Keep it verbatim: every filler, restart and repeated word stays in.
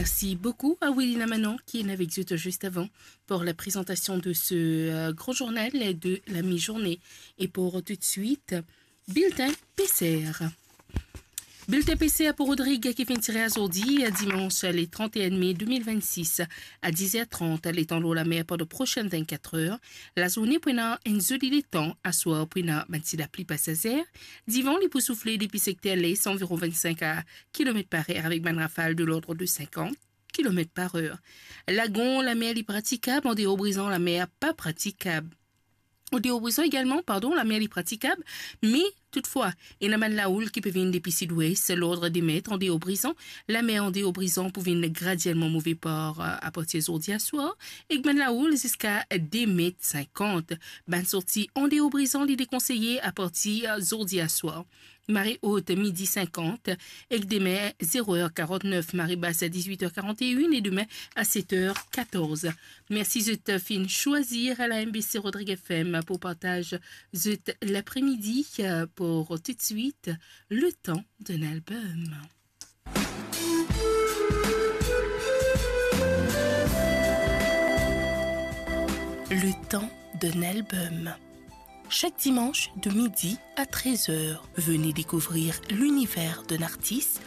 Merci beaucoup à Willy Lamanon qui est avec nous juste avant pour la présentation de ce euh, grand journal de la mi-journée. Et pour tout de suite, bulletin P C R. Bulletin P C R pou Rodrig ki finn tire azordi, dimans le trente et un mai deux mille vingt-six, a dix heures trente, letan lor lamer pandan prosenn vinn-kat er. Lazourne pou ena enn zoli letan, aswar pou ena bann ti lapli pasazer. Divan li pou soufle depi sekter les, anviron vingt-cinq kilomet par er, avek bann rafal de lord de cinquante kilomètres par heure. Lagon, lamer li pratikab, andeor Brizan, lamer pa pratikab. Andeor Brizan egalman, pardon, lamer li pratikab, me toutfwa, ena bann laoul ki pe vinn depi sidwes, lord de met andeor Brizan, lamer andeor Brizan pou vinn gradielman move par, euh, apartir zordi aswar, ek bann laoul ziska de met sinkant. Bann sorti andeor Brizan li dekonseye apartir zordi aswar. Mare ot midi sinkant, ek demin zero er karant-nef, mare bas a dizwit er karant-enn, e demin a set er katorz. Mersi zot finn swazir la M B C Rodrig F M pou partaz zot lapremidi. Pou toutswit, le tan d'un album. Le temps d'un album. Chaque dimanche de midi à treize heures, venez découvrir l'univers d'un artiste